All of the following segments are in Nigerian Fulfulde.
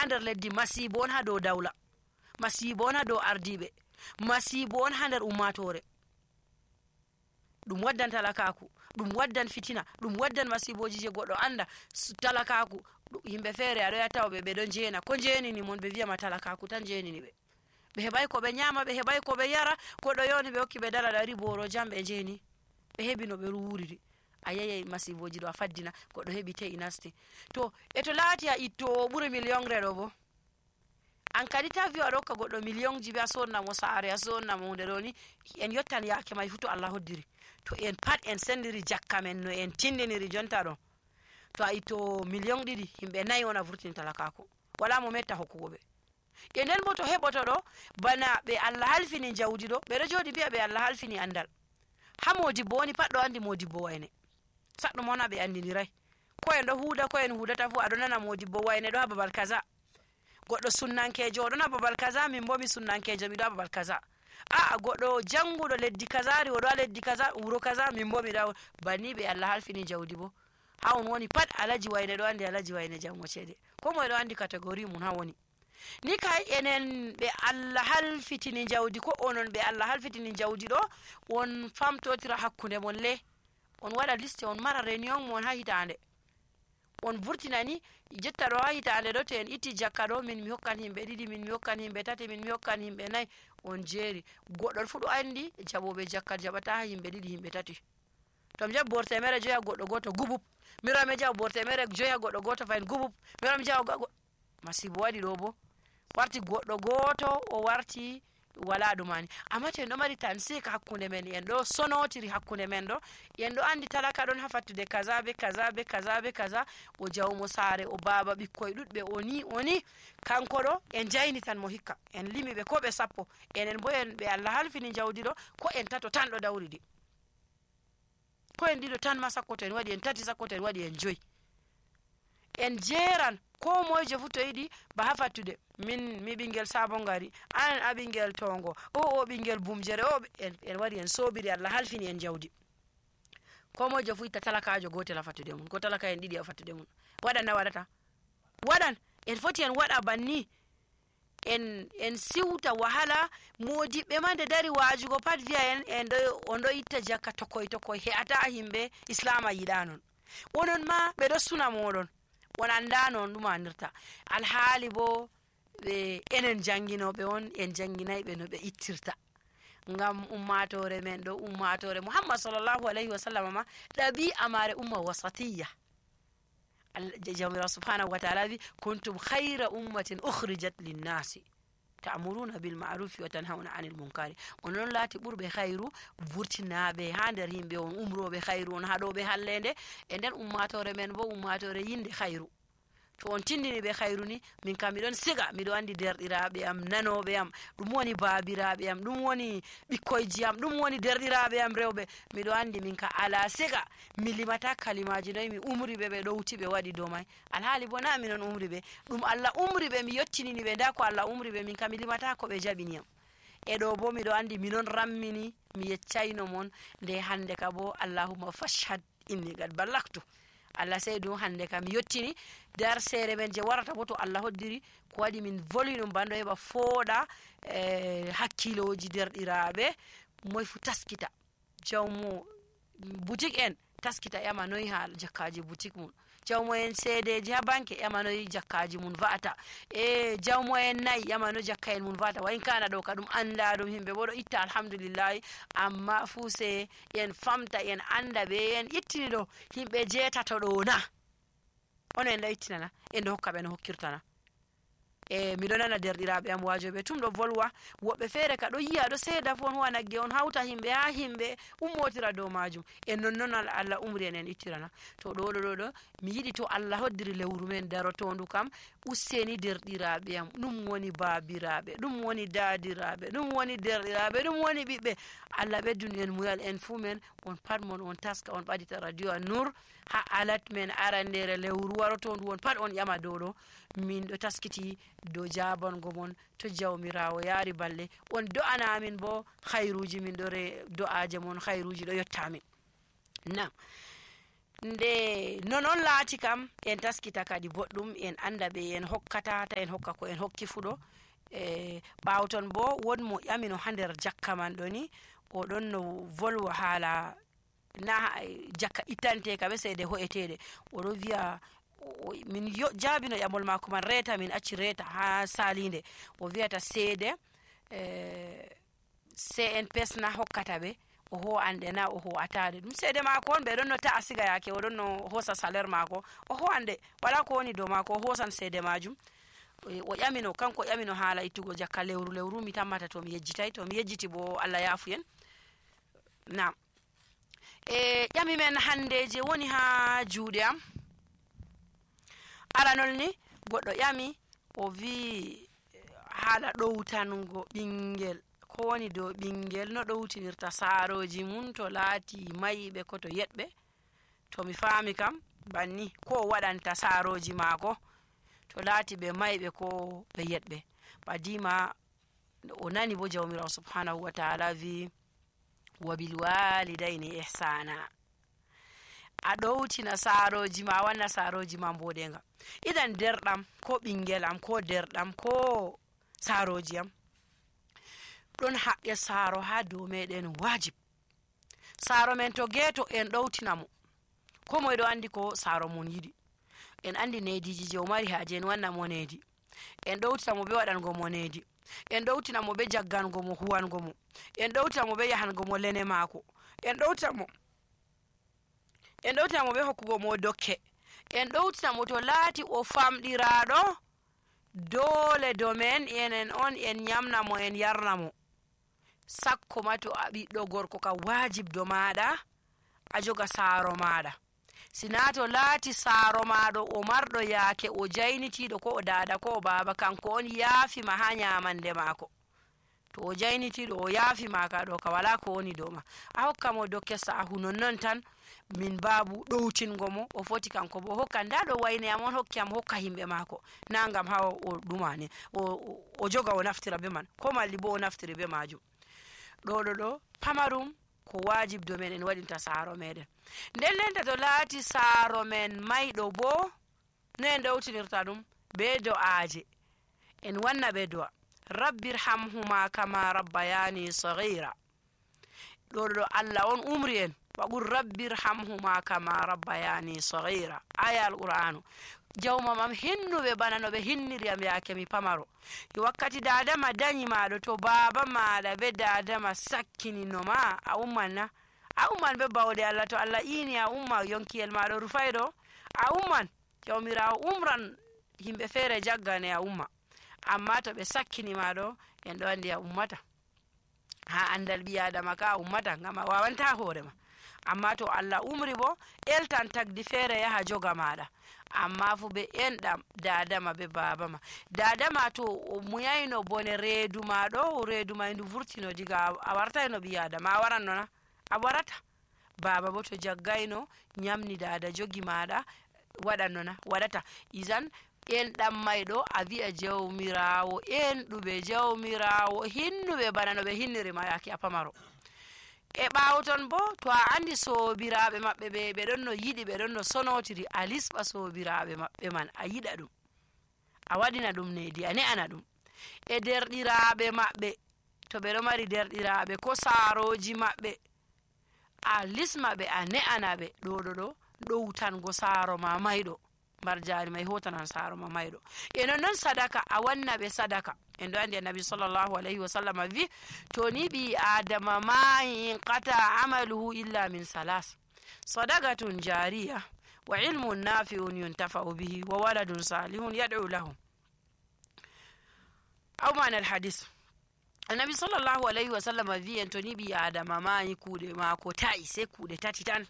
ha nder leddi masibo on ha dow dawla, masibo on ha dow ardiɓe, masibo on ha nder ummatore. ɗum waddan talakaku, ɗum waddan fitina, ɗum waddan masiboji je goɗɗo anda. Talakaku yimɓe feere aɗo tawaɓe ɓe ɗon jeena, ko jeenini mon ɓe wiyama talakaku tan jeenini ɓe. ɓe heɓai ko ɓe nyama, ɓe heɓai ko ɓe yara, goɗɗo yoni ɓe hokki ɓe dala ɗari boro jam ɓe jeeni, ɓe heɓi no ɓe wuriri. A yeyai masiboji ɗo a faddina, goɗɗo heɓi te'i nasti. To e to laati a ittowo ɓuri million ɗo bo, an kadi ta wi'a aɗo hokka goɗɗo million ji be a sonnamo saare, a sonnamo hunde ɗo ni, en yottan yaake mai fu to Allah hoddiri. To en pat en sendiri jakka men no en tindiniri jonta ɗo, to a itto million ɗiɗi, himɓe 4 on a vurtini talakako, wala mo metta hokkugo ɓe. E nden bo to heɓoto ɗo bana ɓe Allah halfini jawdi ɗo, ɓeɗo joɗi mbi'a ɓe Allah halfini andal. Ha modibbo woni pat ɗo andi modibbo wayne, saɗɗum on ɓe andinirai. Ko en ɗo huuda ko en hudata fu aɗo nana modibbo wayne ɗo ha babal kaza. Goɗɗo sunnankejo oɗon ha babal kaza, min bo mi sunnankejo miɗo ha babal kaza. A'a goɗɗo janguɗo leddi kazari oɗo ha leddi kaza, wuro kaza, min bo miɗo banni ɓe Allah halfini jawdi bo. Ha on woni pat alaji wayne ɗo andi alaji wayne jango cede, ko moye ɗo andi catégorie mun ha woni. Ni kay enen ɓe Allah halfitini jawdi, ko onon ɓe Allah halfitini jawdi ɗo, on famtotira hakkunde mon le, on waɗa liste, on mara réunion mon ha hitande, on vurtinani jetta ɗo ha hitande ɗo, to en itti jakka ɗo, min mi hokkan himɓe 2, min mi hokkan himɓe 3, min mi hokkan himɓe 4, on jeeri. Goɗɗo fu ɗo andi jaɓoɓe jakka jaɓata ha himɓe 2, himɓe 3. To mi jaɓi borte mere 5 goɗɗo goto gubub, miro mi jaɓa borte mere 5 goɗɗo goto fayin gubub, miro mi jaɓa masibo waɗi ɗo bo. Warti goɗɗo goto o warti wala ɗumani. Amma to en ɗo mari tansik hakkunde men, en ɗo sonotiri hakkunde men ɗo, en ɗo andi talaka ɗon ha fattude kaza be kaza be kaza be kaza, o jawmo saare, o baba ɓikkoye ɗuɗɓe, oni kanko ɗo en jaynitan mo hikka, en limi ɓe ko ɓe 10, enen bo en ɓe Allah halfini jawdi ɗo, ko en 3 tan ɗo dawridi, ko en 2 tan ma sakko to en waɗi, en 3 sakko to en waɗi, en 5. En jeeran ko moyejo fu to yiɗi ba ha fattude, min mi ɓingel sabon gari, an a ɓingel tongo, o ɓingel bumjere, o en wari en sobiri, Allah halfini en jawdi. Ko moyejo fu itta talakajo gotel ha fattude mun, ko talaka en 2 ha fattude mun. Waɗan na waɗata? Waɗan. En foti en waɗa banni, en siwta wahala. Modiɓɓe ma nde dari wajugo pat wi'a en on ɗo itta jakka tokoy he'ata himɓe islama yiɗa non. Onon ma ɓe ɗo suna moɗon, on anda non ɗum anirta. Alhaali bo ɓe enen janginoɓe on, en janginayɓe no ɓe ittirta. Ngam ummatore men ɗo, ummatore Muhammad sallallahu alaihi wasallam ma ɗabi'a mare umma wasatiyya. Jawmirawo subhanahu wa ta'ala wi kuntum khayra ummatin ukhrijat linnasi ta'muruna bil ma'rufi wa tanhauna 'anil munkari. Onon laati ɓurɓe khayru vurtinaɓe ha nder himɓe, on umroɓe khayru, on haɗoɓe hallende. E nden ummatore men bo ummatore yinde khayru. To on tindini ɓe khayru ni, min kam miɗon siga, miɗo andi derɗiraɓe am, nanoɓe am, ɗum woni babiraɓe am, ɗum woni ɓikkoyji am, ɗum woni derɗiraɓe am rewɓe, miɗo andi min ka ala siga mi limata kalimaji noyi mi umri ɓe, ɓe ɗowti ɓe waɗi dow mai. Alhaali bo na minon umri ɓe, ɗum Allah umri ɓe, mi yottinini ɓe, nda ko Allah umri ɓe, min ka mi limata ko ɓe jaɓini am. E ɗo bo miɗo andi minon rammini, mi yeccayno mon nde hande ka bo Allahumma fashhad inni qad ballagtu. Allah sey ɗum hande kam mi yottini dar sere men je warata bo to Allah hoddiri, ko waɗi min voli ɗum banɗo heɓa fooɗa hakkiloji derɗiraɓe, moy fu taskita, jawmo boutique en taskita ƴama noyi ha jakkaji boutique mum, jawmo en seedeji ha banque ƴama noyi jakkaji mun va'ata, e jawmo en nayi ƴama no jakka en mun va'ata. Wa in kana ɗo ka ɗum anda ɗum, himɓe bo ɗo itta alhamdulillahi, amma fu se en famta en anda ɓe en ittini ɗo himɓe 8 ɗo na ono en ɗo ittinana, en ɗo hokka ɓe no hokkirtana. E miɗo nana derɗiraɓe am wajoɓe tum ɗo volwa, woɓɓe feere ka ɗo yiya ɗo seeda fu on huwa nagge, on hawta himɓe ha himɓe ummotira dow majum, en nonnon Allah umri en ittirana. To ɗo mi yiɗi to Allah hoddiri lewru men darotondu kam, useni derɗiraɓe am, ɗum woni babiraɓe, ɗum woni dadiraɓe, ɗum woni derɗiraɓe, ɗum woni ɓiɓɓe, Allah ɓeddun en muyal en fu men, on pat mon on taska, on ɓadita radio An-Nur ha alat men arandere lewru warotondu, on pat on ƴama dow ɗo, min ɗo taskiti dow jabango mon to jawmirawo yaari balle, on do'ana amin bo khayruji, min ɗo do'aje mon khayruji ɗo yottamin. Nam nde non laati kam en taskita kadi boɗɗum en anda ɓe en hokkata ta en hokka ko en hokki fuɗo. Ɓaawo ton bo won mo ƴamino ha nder jakka man ɗo ni oɗon no volwa haala na jakka ittanteka ɓe seede ho'eteɗe. Oɗo wiya min jaabino ƴamol mako man reeta min acci reeta ha salinde. O wiyata seede CNPS na hokkata ɓe o ho ande na o ho atade ɗum seede mako on ɓe ɗon no ta'a siga yake o ɗon no hosa salaire mako o ho ande wala ko woni dow mako o hosan seede majum. O ƴamino kanko ƴamino haala ittugo jakka lewru mi tammata to mi yejjitay to mi yejjiti bo Allah yafuyen. Nam ƴami men hande je woni ha juuɗe am aranol ni goɗɗo ƴami o wi haala ɗowtango ɓingel ko woni dow ɓingel no ɗowtinirta saaroji mum to laati mayiɓe ko to yeɗɓe. To mi faami kam banni ko o waɗanta saaroji maako to laati ɓe mayiɓe ko ɓe yeɗɓe. Badima o nani bo jawmirawo subhanahu wa ta'ala wi wa bil walidayni ihsana. A ɗowtina saaroji ma wanna saaroji ma mboɗenga. Idan derɗam ko ɓingel am ko derɗam ko saaroji am ɗon haqqe saaro ha dow meɗen wajib. Saaro men to geeto en ɗowtina mo ko moye ɗo andi ko saaro mum yiɗi. En andi nediji je o mari haaje en wanna mo nedi. En ɗowtina mo ɓe waɗango mo nedi. En ɗowtina mo ɓe jaggango mo huwango mo. En ɗowtina mo ɓe yahango mo lene maako. En ɗowtina mo ɓe hokkugo mo dokke. En ɗowtina mo to laati o famɗiraɗo dole domen enen on en nyamna mo en yarna mo. Sakko ma to a ɓiɗɗo gorko ka wajib do maɗa a joga saaro maɗa. Sina to laati saaro maɗo o marɗo yaake o jaynitiɗo ko o dada ko o baba kanko on yaafima ha nyamande maako. To o jaynitiɗo o yaafima ka ɗo ka wala ko woni dow ma. A hokka mo dokke sahu nonnon tan min babu ɗowtingo mo o foti kanko bo hokka nda ɗo wayne am on hokki am hokka himɓe maako na ngam ha o ɗumani o joga o naftira be man ko malli bo o naftiri be majum. ɗo pamarum ko wajib do men en waɗinta saaro meɗen. Nden lenta to laati saaro men mayɗo bo no en ɗowtinirta ɗum be do'aje. En wanna ɓe do'a rabbirhamhuma kama rabbayani saghira. ɗo Allah on umri en waqul rabbirhamhuma kama rabbayani saghira. Aya al-Qur'anu. Jawma mam hinnuɓe bana no ɓe hinniri am yaake mi pamaro. Wakkati dadama dañi maɗo to baba maɗa be dadama sakkinino ma a umman na a umman be bawɗe Allah. To Allah ini a umma yonkiyel maɗo rufayɗo a umman jawmirawo umran himɓe feere jaggane a umma. Amma to ɓe sakkini maɗo en ɗo andi a ummata ha andal ɓi adama ka a ummata ngam a wawanta hoorema. Amma to Allah umri bo eltan tagdi feere yaha joga maɗa. Amma fu ɓe enɗam dadama be babama. Dadama to o muyayno bone reedu ma ɗo reedu ma ndu vurtino diga a wartayno ɓi adama a waranno na a warata. Baba bo to jaggayno nyamni dada jogi maɗa waɗanno na waɗata. Izan enɗam mayɗo a wi'a jawmirawo enɗuɓe jawmirawo hinnuɓe bana no ɓe hinnirima yake a pamaro. E ɓaawo ton bo to a andi soobiraaɓe maɓɓe ɓe ɗon no yiɗi ɓe ɗon no sonotiri a lisɓa soobiraaɓe maɓɓe man a yiɗa ɗum a waɗina ɗum nedi a ne'ana ɗum. E derɗiraaɓe maɓɓe to ɓe ɗo mari derɗiraaɓe ko saaroji maɓɓe a lisma ɓe a ne'ana ɓe ɗo ɗowtango saaro ma mayɗo marjari may hotanan saaro ma mayɗo. E nonnon sadaka a wanna ɓe sadaka. En ɗo andi annabi sallallahu alayhi wa sallam wi to ni ɓi adama mayi inqata amaluhu illa min salas sadaqatun jariya wa ilmun nafi'un yuntafa'u bihi wa waladun salihun yad'u lahu. Aw mana alhadis annabi sallallahu alayhi wa sallam wi en to ni ɓi adama mayi kuuɗe maako ta'i sai kuuɗe tati tan.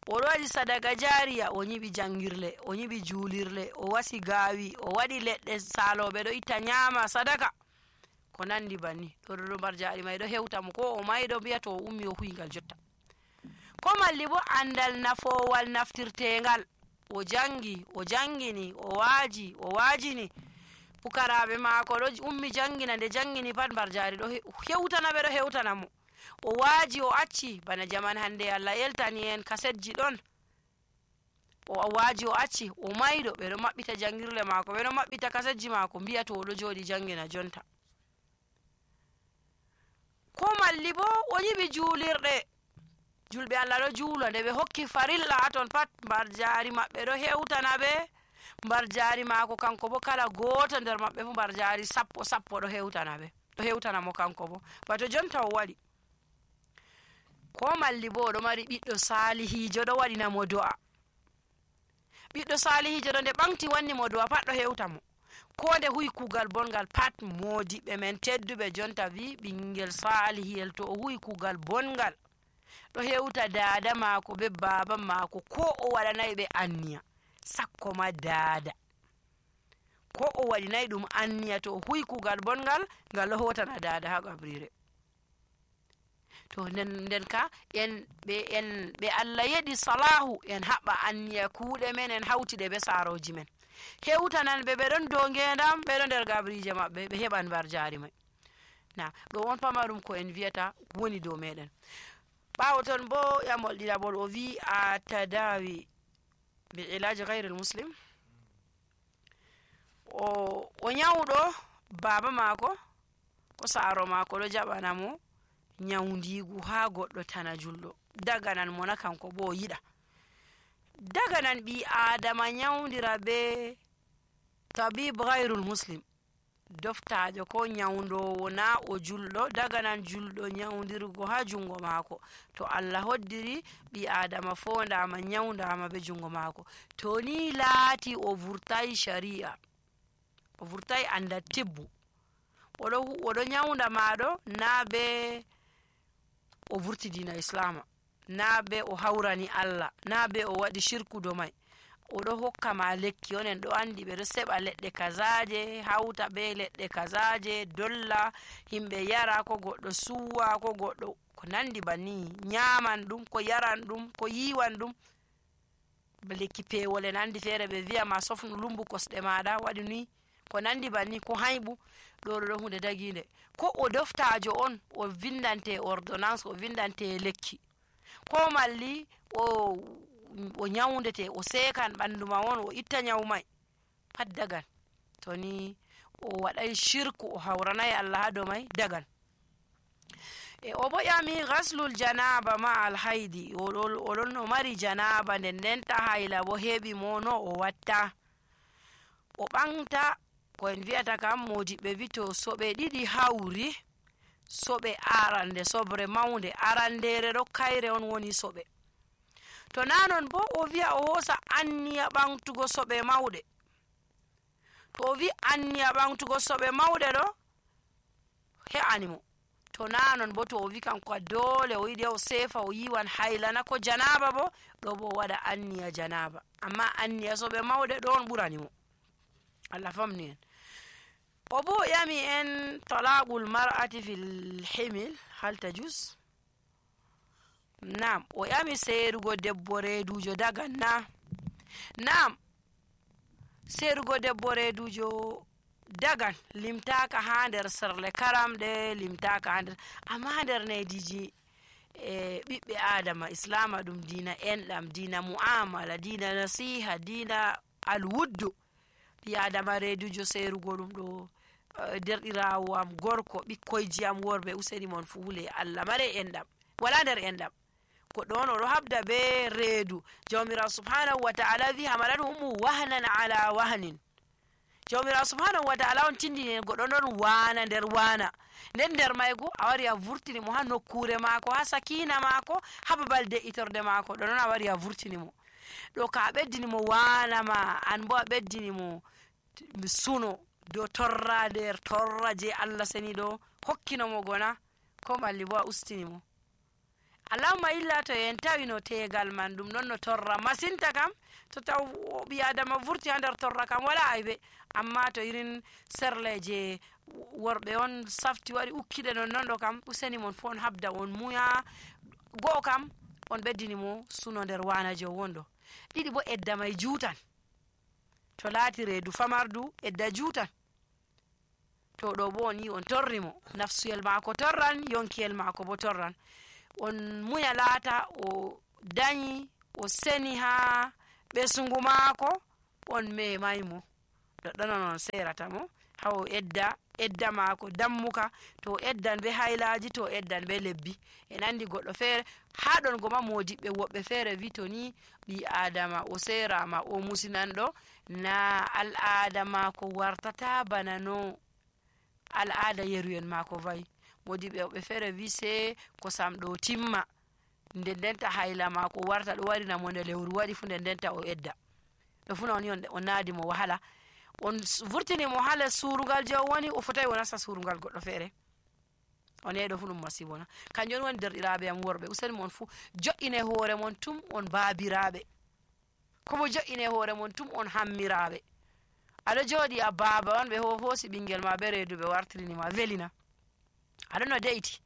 O waɗi sadaka jariya o nyiɓi jangirle o nyiɓi juulirle o wasi gaawi o waɗi leɗɗe saaloɓe ɗo itta nyama sadaka ko nandi banni. ɗo marjari may ɗo hewta mo ko o mayɗo mbiya to o ummi o huygal jotta. Ko malli bo andal nafowal naftirtengal o jangi o jangini o waaji o waajini pukaraɓe maako ɗo ummi jangina nde jangini pat marjari ɗo hewtana ɓe ɗo hewtana mo. o waaji o acci bana jaman hande Allah eltani en kasetji ɗon o waaji o acci o mayɗo ɓe ɗo maɓɓita jangirle maako ɓe ɗo maɓɓita kasetji maako mbiya to o ɗo jooɗi jangina jonta ko malli bo o yiɓi juulirɗe julɓe Allah ɗo juula nde ɓe hokki farilla haton pat mbar jaari maɓɓe ɗo hewtana ɓe mbar jaari maako kanko bo kala gooto nder maɓɓe fu mbar jaari sappo ɗo hewtana ɓe ɗo hewtana mo kanko bo bato jonta o waɗi ko malli bo oɗo mari ɓiɗɗo salihijo ɗo waɗina mo do'a ɓiɗɗo salihijo ɗo nde ɓamti wanni mo do'a pat ɗo hewta mo ko nde huwi kuugal bongal pat modiɓɓe men tedduɓe jonta wi ɓingel salihiyel to o huwi kuugal bongal ɗo hewta dada maako be baba maako ko o waɗanayi ɓe anniya sakko ma dada ko o waɗinayi ɗum anniya to o huwi kuugal bongal ngal ɗo hotana dada ha gabrire to nden ka ɓe Allah yeɗi salahu en haɓɓa anniya kuuɗe men en hawtiɗe be saroji men hewtanan ɓe ɓeɗon dow ngendam ɓeɗo nder gabrije maɓɓe ɓe heɓan mbar jaari may na ɗo on pamarum ko en wiyata woni dow meɗen ɓawo ton bo yamol ɗiɗaɓol o wi a tadawi bi ilaji gayril muslim o nyawɗo baba maako ko saaro maako ɗo jaɓana mo nyawndigu ha goɗɗo tana julɗo daganan mo na kanko bo o yiɗa daganan ɓi adama nyawndira be tabib gayrul muslim doftajo ko nyawndowo na o julɗo daganan julɗo nyawndirgo ha jungo maako to Allah hoddiri ɓi adama fondama nyawndama be jungo maako to ni laati o vurtai sharia o vurtai anda tibbu oɗo nyawnda maɗo na be o vurti dina islama na be o hawrani Allah na be o waɗi shirku do may oɗo hokka ma lekki onen ɗo andi ɓe ɗo seɓa leɗɗe kazaje hawta be leɗɗe kazaje dolla himɓe yara ko goɗɗo suwa ko goɗɗo ko nandi banni nyaman ɗum ko yaran ɗum ko yiwan ɗum lekki pewol en andi feere ɓe wiya ma sofnu lumbu kosɗe maɗa waɗi ni ko nandi banni ko hayɓu ɗo hunde daginde ko o doftajo on o vindante ordonnance o vindante lekki ko malli o nyawndete o sekan ɓandu ma won o itta nyawu may pat dagan to ni o waɗay shirku o hawranayi Allah ha dow may dagan o bo ƴami ghaslul janaba ma alhaydi oɗon o mari janaba nden ndenta hayla bo heɓi mo no o watta o ɓamta ko en wi'ata kam modiɓɓe wi to soɓe ɗiɗi hawri soɓe arande sobre mawnde arandere ɗo kayre on woni soɓe to nanon bo o wi'a o hosa anniya ɓamtugo soɓe mawɗe to o wi anniya ɓamtugo soɓe mawɗe ɗo he'animo to nanon bo to o wi kanko dole o yiɗi o sefa o yiwan haylana ko janaba bo ɗo bo waɗa anniya janaba amma anniya soɓe mawɗe ɗo on ɓuranimo Allah famni en o bo yami en talaqul mar'ati fil himil hal tajuz nam o yami seerugo debbo reedujo dagan na nam seerugo debbo reedujo dagan limtaka ha nder serle karamɗe limtaka ha nder amma nder nediji ɓiɓɓe adama islama ɗum dina enɗam dina mu'amala dina nasiha dina alwuddu ɓi adama reedujo seerugo ɗum ɗo derɗirawo am gorko ɓikkoyji am worɓe useni mon fuule Allah mare enɗam wala nder enɗam goɗɗo on oɗo habda be reedu jawmirawo subhanahu wa ta'ala wi hamalathumu wahnan ala wahnin jawmirawo subhanahu wa ta'ala on tindini goɗɗo ɗon wana nder wana nden nder maygo a wari a vurtini mo ha nokkure maako ha sakina maako ha babal de'itorde maako ɗo noon a wari a vurtini mo ɗo ka a ɓeddini mo wana ma an bo a ɓeddini mo suno dow torra nder torra je Allah seni ɗo hokkinomo gona ko malli bo a ustini mo allahumma illa to en tawino tegal man ɗum ɗon no torra masinta kam to taw ɓi adama vurti ha nder torra kam wala aybe amma to irin serle je worɓe on safti wari ukkiɗe non ɗo kam useni mon fu on habda on muya go'o kam on ɓeddini mo suno nder wanajo wonɗo ɗiɗi bo edda may juutan to laati reedu famardu edda juutan to ɗo bo on yi on torri mo, nafsuyel maako torran, yonkiyel maako bo torran. On muya laata o danyi o seni ha ɓesugu maako, on memay mo, ɗoɗɗon on serata mo ha o edda maako dammuka, to eddan be haylaji, to eddan be lebbi. En andi goɗɗo feere ha ɗon goma modiɓɓe woɓɓe feere wi to ni ɓi adama o serama o musinanɗo, na al'ada maako wartata bana no al'ada yeruyen maako vayi. Modiɓɓe woɓɓe feere wi se kosam ɗo timma nden denta hayla maako warta ɗo warina mo nde lewru waɗi fu nden denta o edda. ɗo fu non on naadi mo wahala, on vurtini mo ha les surugal je o woni, o fotai o nasta surugal goɗɗo feere. on ɗo fu ɗum masibo na. kanjum woni derɗiraɓe am worɓe, useni mon fu jo'ine hoore mon tum on baabiraɓe, komo jo'ine hoore mon tum on hammiraɓe. aɗo jooɗi a baaba on, ɓe hoosi ɓingel ma be reedu ɓe wartirini ma, welina? aɗo no de'iti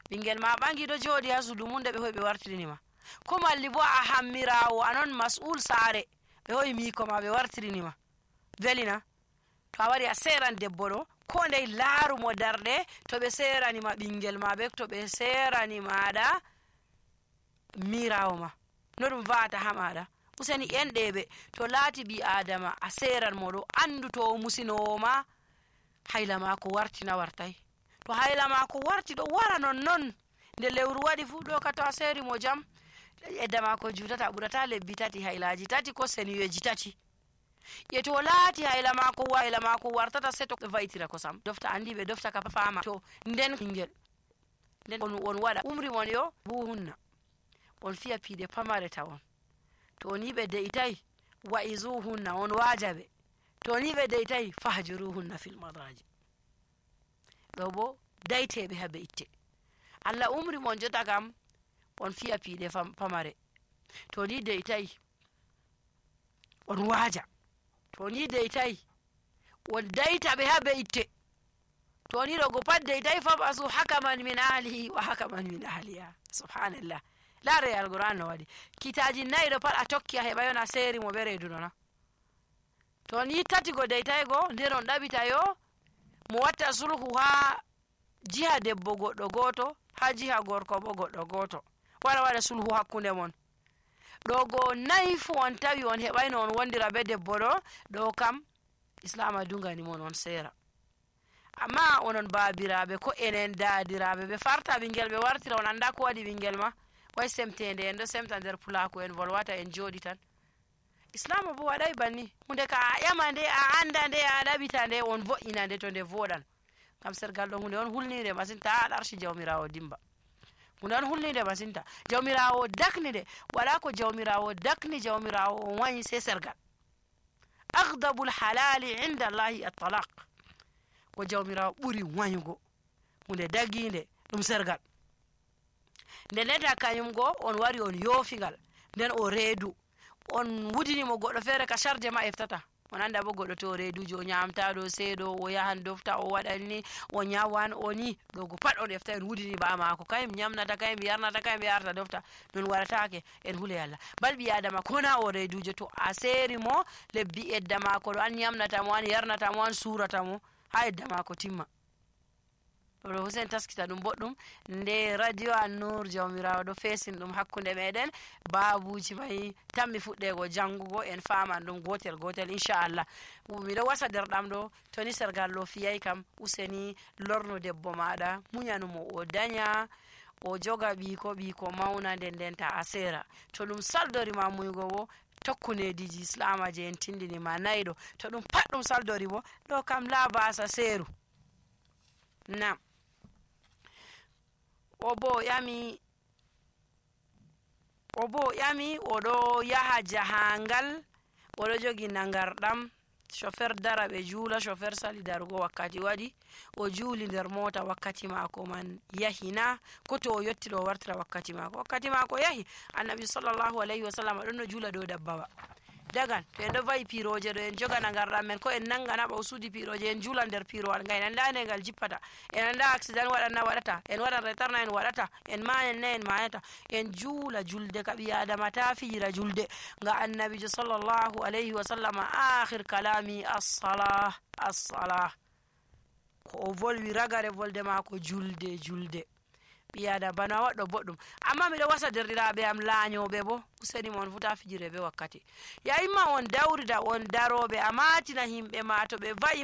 ɓingel ma ɓangi ɗo jooɗi ha sudu mum nde ɓe hoyi ɓe wartirini ma, ko malli bo a hammirawo anon mas'ul saare ɓe hoyi miko ma ɓe wartirini ma, welina? to a wari a seran debbo ɗo, ko ndey laaru mo darɗe, to ɓe serani ma ɓingel ma be to ɓe serani maɗa mirawo ma, no ɗum va'ata ha maɗa? useni enɗeɓe to laati ɓi adama a seran mo ɗo, andu to o musinowo ma hayla mako wartina wartai. to hayla mako warti ɗo wara non nde lewru waɗi fu ɗo ka to a seri mo jam edda mako jutata, ɓurata lebbi tati, haylaji tati ko seniyeji tati. e to laati hayla mako wartata se to vaytira kosam dofta, andi ɓe dofta ka fama to nden ɓingel nden on waɗa umri mon yo buhunna, on fiya piide pamare tawon, to ni ɓe de'itai wa'izuhunna, on wajaɓe, to ni ɓe de'itai fahjuruhunna fil madaji. ɗo bo dayteɓe habe itte. Allah umri mon jota kam on fiya piide pamare, to ni de'itai on waja, to ni de'itai on dayta ɓe habe itte, to ni ɗo go pat de'itai fabasu hakaman min ahlihi wa hakaman min ahliha. subhanallah, laare alquran no waɗi kitaji nayi ɗo pat a tokki a heɓa yon a seri mo ɓe reedu nona. to ni tati go de'itai go nder on ɗaɓita yo mo watta sulhu ha jiha debbo goɗɗo goto, ha jiha gorko bo goɗɗo goto, wara waɗa sulhu hakkunde mon. ɗo go nayi fu on tawi on heɓayno on wondira be debbo ɗo kam islama dungani mon on sera. amma onon baabiraɓe ko enen daadiraɓe ɓe farta ɓingel ɓe wartira, on anda ko waɗi ɓingel ma, way semtende en ɗo semta nder pulaku en volwata en jooɗi tan. islama bo waɗay banni, hunde ka a ƴama nde, a anda nde, a ɗaɓita nde, on vo'ina nde to nde voɗan. ngam sergal ɗo hunde on hulnide masinta, a ɗarshi jawmirawo dimba, hunde on hulnide masinta. jawmirawo dakni nde, wala ko jawmirawo dakni jawmirawo on wayi se sergal. aghdabul halali inda allahi at-talaq, ko jawmirawo ɓuri wayugo hunde daginde ɗum sergal. nden neta kañum go on wari on yoofingal, nden o reedu on wudinimo goɗɗo feere ka charge ma eftata. on anda bo goɗɗo to reedujo o ñamtaɗo seeɗo, o yahan dofta, o waɗanni, o ñawan, o ni ɗogo pat on efta en wudini ba mako, kayum ñamnata, kayum yarnata, kayum yarta dofta, non waɗatake en huule Allah. bal ɓi adama kona o reedujo to a seeri mo lebbi edda mako ɗo, an ñamnata mo, an yarnata mo, an surata mo ha edda mako timma. ɗo husen taskita ɗum boɗɗum nde radio An-Nur jawmirawo ɗo fesin ɗum hakkunde meɗen, babuji mai tammi fuɗɗego jangugo en faman ɗum gotel gotel inchallah. miɗo wasa derɗam ɗo, toni sergal ɗo fiyai kam useni lorno debbo maɗa, muñanumo o daña, o joga ɓiko mauna, nden denta a sera. to ɗum saldorima muygo bo tokkunediji islama je en tindinima nayi ɗo, to ɗum pat ɗum saldori bo ɗo kam la basa seru. nam o bo ƴami oɗo yaha jahangal, oɗo jogi nagarɗam, chauffeur dara ɓe juula, chauffeur sali darugo wakkati waɗi, o juuli nder mota, wakkati mako man yahina, ko to o yetti ɗo wartira wakkati mako yahi. annabi sallllahu alayhi wa sallam ɗon no juula dow dabbawa dagan, to en ɗo vayi piroje ɗo en joga nagarɗam men, ko en nangana ɓa o suudi piroje en juula nder pirowal ngal, en anda nde ngal jippata, en anda accident waɗanna waɗata, en waɗan retarna en waɗata, en mayan na en mayata, en juula julde ka ɓi adama ta fijira julde. nga annabijo sallllahu alayhi wa sallam akhir kalami as-salah. ko o volwi ragare volde maako julde ɓiyaada bana waɗɗo boɗɗum. Amma miɗo wasa derɗiraaɓe am laanyoɓe bo useni mon fu ta fijire be wakkati. Yayima on dawrida on daroɓe a matina himɓe ma to ɓe va'i